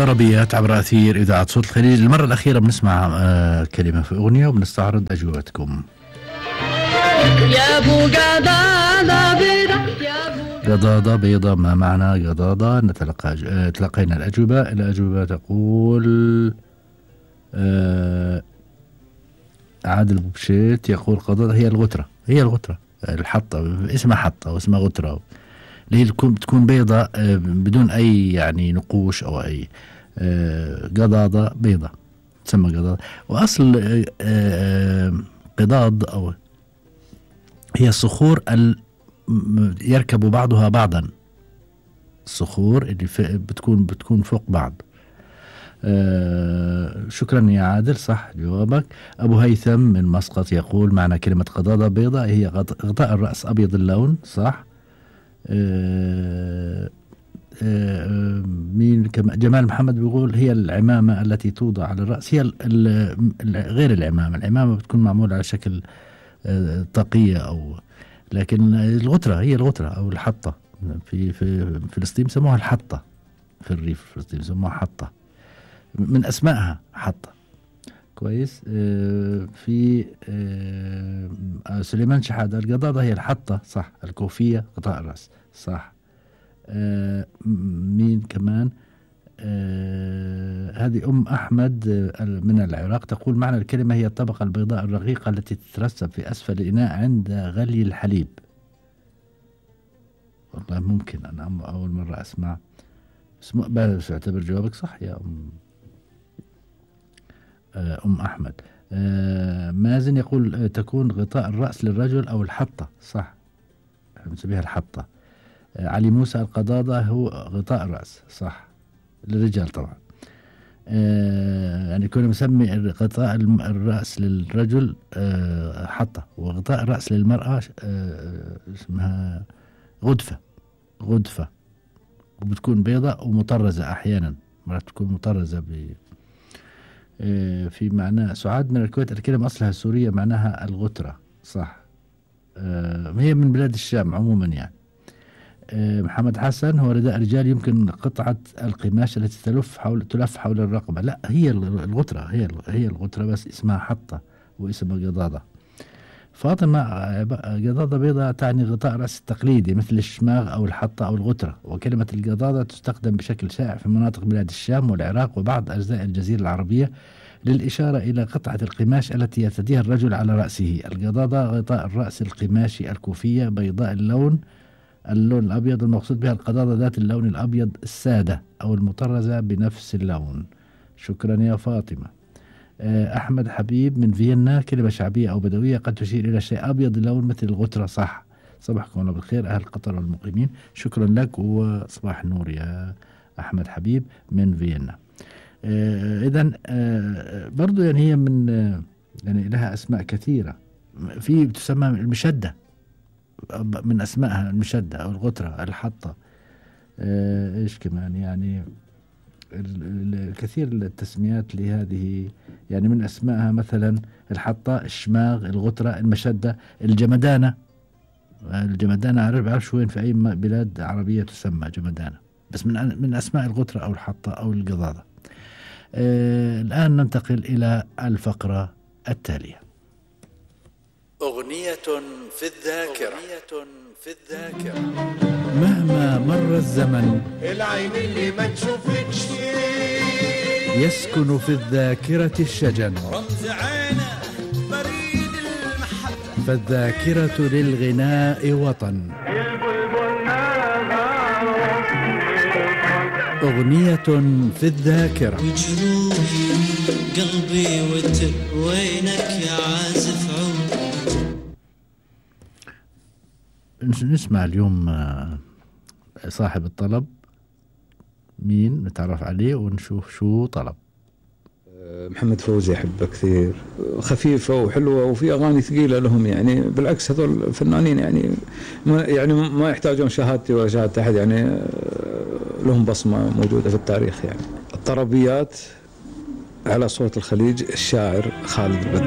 طربيات عبر أثير إذاعة صوت الخليج. المرة الأخيرة بنسمع كلمة في أغنية وبنستعرض أجوبتكم. يا أبو قضاضة بيضة، قضاضة بيضة، ما معنى قضاضة؟ تلقينا الأجوبة. الأجوبة تقول عادل بوبشيت يقول قضاضة هي الغترة، هي الغترة الحطة، اسمها حطة واسمها غترة، اللي هي تكون بيضة بدون أي يعني نقوش أو أي. قضاضة بيضة تسمى قضاضة. وأصل قضاض أو هي الصخور يركب بعضها بعضا، الصخور اللي بتكون فوق بعض. شكرا يا عادل، صح جوابك. أبو هيثم من مسقط يقول معنى كلمة قضاضة بيضة هي غطاء الرأس أبيض اللون، صح. مين جمال محمد بيقول هي العمامة التي توضع على الرأس، هي غير العمامة بتكون معمولة على شكل طاقية أو، لكن الغترة هي الغترة أو الحطة. في فلسطين سموها الحطة، في الريف فلسطين سموها حطة، من أسمائها حطة. كويس. في سليمان شحادة القضاضة هي الحطة، صح. الكوفية غطاء الرأس، صح. مين كمان؟ هذه أم أحمد من العراق تقول معنى الكلمة هي الطبقة البيضاء الرقيقة التي تترسب في أسفل الإناء عند غلي الحليب. والله ممكن، أنا أول مرة أسمع. بس أعتبر جوابك صح يا أم أحمد. مازن يقول تكون غطاء الرأس للرجل أو الحطة، صح، نسميها الحطة. علي موسى القضاضة هو غطاء الرأس، صح، للرجال طبعا. يعني كنا مسمي غطاء الرأس للرجل حطة، وغطاء الرأس للمرأة اسمها غدفة، وبتكون بيضاء ومطرزة أحيانا، مرات تكون مطرزة في معنى. سعاد من الكويت الكلمة أصلها سورية معناها الغترة، صح. هي من بلاد الشام عموما يعني. محمد حسن هو رداء رجال يمكن قطعة القماش التي تلف حول الرقبة. لا، هي الغترة، هي الغترة بس اسمها حطة واسمها قضاضة. فاطمة قضاضة بيضاء تعني غطاء رأس التقليدي مثل الشماغ أو الحطة أو الغترة. وكلمة القضاضة تستخدم بشكل شائع في مناطق بلاد الشام والعراق وبعض أجزاء الجزيرة العربية للإشارة إلى قطعة القماش التي يرتديها الرجل على رأسه. القضاضة غطاء الرأس القماشي الكوفية بيضاء اللون الأبيض، المقصود بها القضاضة ذات اللون الأبيض السادة أو المطرزة بنفس اللون. شكرا يا فاطمة. أحمد حبيب من فيينا كلمة شعبية أو بدوية قد تشير إلى شيء أبيض اللون مثل الغترة، صح. صباحكم الله بالخير أهل قطر والمقيمين، شكرا لك وصباح النور يا أحمد حبيب من فيينا. إذن برضو يعني هي من يعني لها أسماء كثيرة. في تسمى المشدة، من أسمائها المشدة أو الغترة، الحطة. إيش كمان يعني الكثير التسميات لهذه، يعني من أسمائها مثلا الحطة، الشماغ، الغترة، المشدة، الجمدانة. الجمدانة بعرفش وين في أي بلاد عربية تسمى جمدانة، بس من أسماء الغترة أو الحطة أو القضاضة. الآن ننتقل إلى الفقرة التالية. أغنية في الذاكرة. مهما مر الزمن العين اللي ما تشوفكش يسكن في الذاكرة الشجن، رمز عينه بريد المحبة، فالذاكرة للغناء وطن. أغنية في الذاكرة. وجروحي قلبي وينك يا عازف عود. نسمع اليوم صاحب الطلب مين، نتعرف عليه ونشوف شو طلب. محمد فوزي أحبه كثير، خفيفة وحلوة وفي أغاني ثقيلة لهم، يعني بالعكس هذول فنانين يعني ما يحتاجون شهادتي ولا شهادة أحد، يعني لهم بصمة موجودة في التاريخ. يعني الطربيات على صوت الخليج، الشاعر خالد البدر.